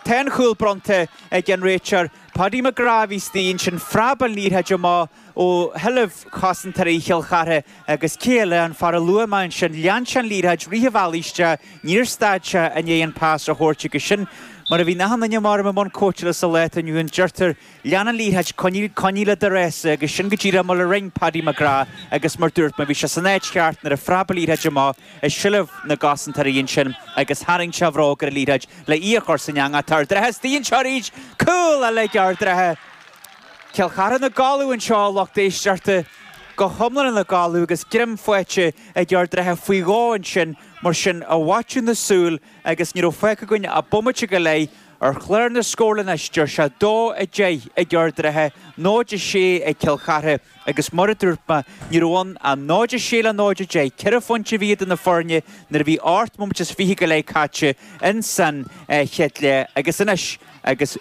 Tá an chúl bronnta ag an réiteoir Paddy McGrath a bhí istigh ansin. Phreab an liathróid amach ó sheilbh chosantóirí Chill Chartha agus cé eile, an fear a luaigh mé ansin, lean sé an liathróid, rith a bhealaigh isteach, níor stad sé i ndiaidh an pas a thabhairt agus sin mar a bhíonn achan duine mar i mbun cóitseála sa lá atá inniu ann, deirtear, lean an liathróid, coinnigh, coinnigh le do rása agus sin go díreach mar a rinne Paddy McGrath agus mar dúirt mé, bhí sé san áit cheart nuair a phreab an liathróid amach i seilbh na gcosantóirí ansin agus tharraing sé a bhróg ar an liathróid le í a chur san eangach. Tá Ard an Rátha istigh anseo arís, cúl eile ag Ard an Rátha! Cill Chartha ina gcodladh anseo, a lucht éisteachta, go hiomlán ina gcodladh agus greim faighte ag Ard an Rátha faoi dhó ansin, mar sin, i bhfaiteadh na súl agus ní raibh fágtha againn ach bomaite go leith ar chlár na scórála anois, deir sé 2, 10 ag Ard an Rátha, 0, 6 ag Cill Chartha agus mar a dúirt mé, ní raibh ann ach 0, 6 le 0, 10, ceithre phointe a bhí idir na foirne nuair a bhí ocht mbomaite is 20 go leith caite insan chéad leath agus anois agus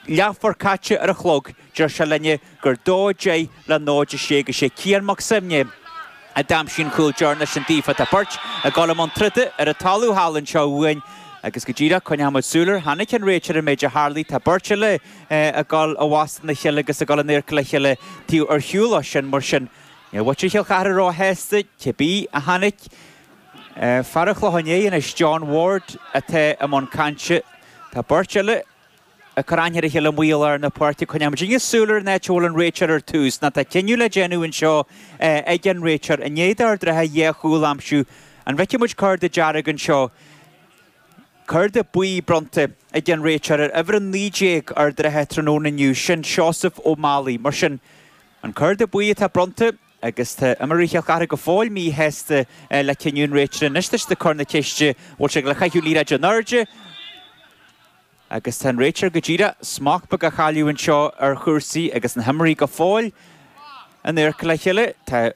Leathuair caite ar an chlog, deir sé linne gur 2, 10 le 0, 6 agus sé Cian Mac Suibhne a d'aimsigh an cúl deireanach sin daofa. Tá beirt ag dul i mbun troda ar an talamh thall anseo uainn agus go díreach coinneoidh muid súil air. Chonaic an réiteoir an méid a tharlaigh. Tá beirt eile ag dul i bhfastó na chéile agus ag dul in adharca le chéile taobh ar shiúl ó sin. Mar sin, níl muintir Chill Chartha róshásta, cibé a chonaic fear an Chlocháin Léith anois, John Ward, atá i mbun cainte. Tá beirt eile. ag cur aithne ar a chéile amuigh i lár na páirce. Coinneoidh muidinne súil ar an áit a bhfuil an réiteoir ar tús. Nó tá cinneadh le déanamh anseo ag an réiteoir. I ndiaidh d'Ard an Rátha dhá chúl a aimsiú, an bhfeicfidh muid cárta dearg anseo? Cárta buí bronnta ag an réiteoir ar uimhir 19 Ard an Rátha tráthnóna inniu, sin Seosamh Ó Málaigh. Mar sin, an cárta buí atá bronnta agus tá imreoirí Chill Chartha go fóill míshásta le cinneadh an réiteora. Anois tá siad ag cur na ceiste, bhfuil sé ag dul a chaitheamh liathróid in airde? Agus tá an réiteoir go díreach smacht beag á chailleadh anseo ar chúrsaí agus na himreoirí go fóill in adharca le chéile. Tá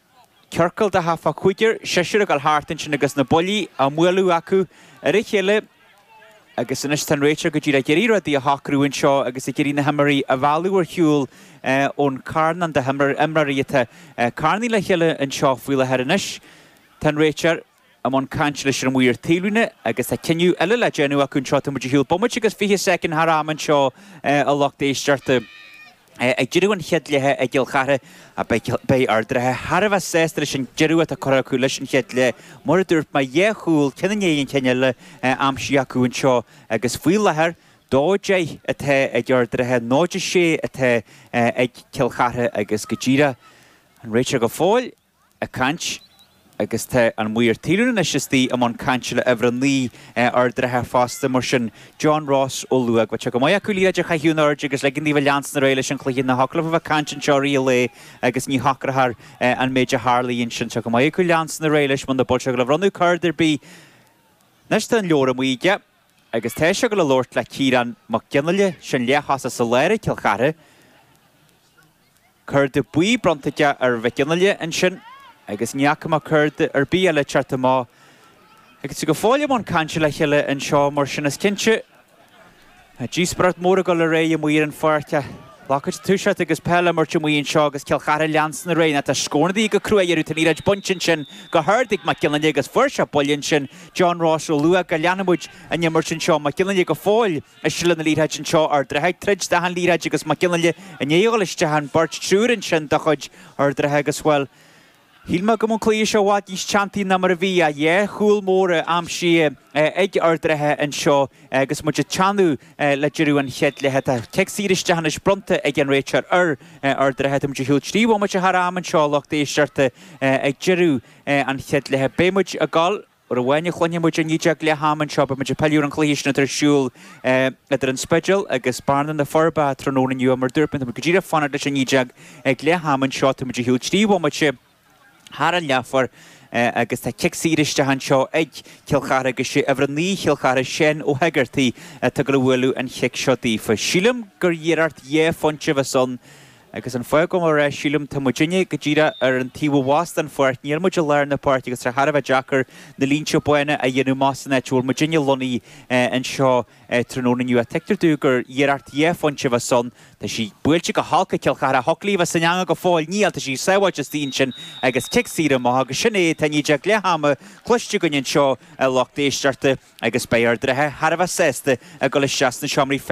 ciorcal de thart fá chúigear, seisear ag dul thart ansin agus na buillí á mbualadh acu ar a chéile agus anois tá an réiteoir go díreach ag iarraidh rudaí a shocrú anseo agus ag iarraidh na himreoirí a mhealladh ar shiúl ón carnán de imreoirí atá carnaithe le chéile anseo faoi láthair. Anois tá an réiteoir. i mbun cainte leis an maor taobhlíne agus tá cinneadh eile le déanamh acu anseo. Tá muid ar shiúl bomaite agus 20 soicind thar am anseo, a lucht éisteachta. Ag deireadh an chéad leithe i gCill Chartha, beidh Ard an Rátha thar a bheith sásta leis an deireadh atá curtha acu leis an chéad leath. Mar a dúirt mé, dhá chúl, ceann i ndiaidh an chinn eile, aimsithe acu anseo agus faoi láthair, 2, 10 atá ag Ard an Rátha, 0, 6 atá ag Cill Chartha agus go díreach an réiteoir go fóill. ag caint agus tá an maor taobhlíne anois istigh i mbun cainte le uimhir 9 Ard an Rátha fosta, mar sin John Ross Ó Luaigh. Bheadh sé go maith acu liathróid a chaitheamh in airde agus ligean daoibh leanstan ar aghaidh leis an chluiche. Ná thiocfadh leofa bheith ag caint anseo i rith an lae agus ní shocrófar an méid a tharlaigh ansin. Tá go maith acu leanstan ar aghaidh leis muna bhfuil sé ag dul a bhronnadh cárta ar bith. Anois tá an leabhar amuigh aige agus tá sé ag dul a labhairt le Ciarán Mac Fhionnghaile, sin leath-thosach sa lár ag Cill Chartha. Cárta buí bronnta aige ar Mhic Fhionnghaile ansin agus ní fhaca mé cárta ar bith eile ag teacht amach agus iad go fóill i mbun cainte le chéile anseo mar sin is cinnte tá díospóireacht mhór ag dul ar aghaidh amuigh ar an pháirc. Glacfaidh toiseacht agus peil á imirt amuigh anseo agus Cill Chartha ag leanstan ar aghaidh. Ná tá scóranna go crua iarraidh tá an liathróid bainte ansin go hard ag Mac Fhionnghaile agus fuair sé buille ansin John Ross Ó Luaigh go leanfaidh muid an imirt anseo Mac Fhionnghaile go fóill I seilbh na liathróide anseo Ard an Rátha ag troid d'achan liathróid agus Mac Fhionnghaile i ndiaidh a dhul isteach an beirt triúr ansin de chuid Ard an Rátha agus, bhuel, shíl mé go mbeadh an cluiche seo i bhfad níos teanntaí ná mar a bhí ach dhá chúl móra aimsithe ag Ard an Rátha anseo agus muid ag teannadh le deireadh an chéad leithe. Tá cic saor isteach anois bronnta ag an réiteoir ar Ard an Rátha. Tá muid ar shiúl 3 bhomaite thar am anseo, a lucht éisteachta, ag deireadh an chéad leithe. Beidh muid ag dul. Uair amháin a chluinfidh muid i ndiaidh leath ama anseo, beidh muid ag pilleadh ar an chluiche sin atá ar siúl idir an Spidéal agus Bearna na Forbacha tráthnóna inniu. Mar a dúirt mé, tá muid go díreach ag fanacht leis an 19 ag leath ama anseo. Tá muid ar shiúl 3 bhomaite thar an leathuair agus tá cic saor isteach anseo ag Cill Chartha agus sé uimhir 9 Chill Chartha, Seán Ó hEigeartaigh, atá ag dul a bhualadh an chic seo daofa. Sílim gur iarracht dhá phointe a bheas ann. Agus an fáth go bhfuil mé ag rá sílim, tá muidinne go díreach ar an taobh ó dheas den pháirc, níl muid i lár na páirce agus tá sé thar a bheith deacair na línte bána a dhéanamh amach san áit a bhfuil muidinne lonnaithe anseo tráthnóna inniu. Ach tuigtear domh gur iarracht dhá phointe a bheas ann. Tá sí buailte go holc ag Cill Chartha. Thiocfadh léi a bheith san eangach go fóill. Níl, tá sí sábháilte istigh ansin agus cic saor amach agus sin é, tá i ndiaidh leath ama cloiste againn anseo a lucht éisteachta agus beidh Ard an Rátha thar a bheith sásta ag dul isteach sna seomraí feistis.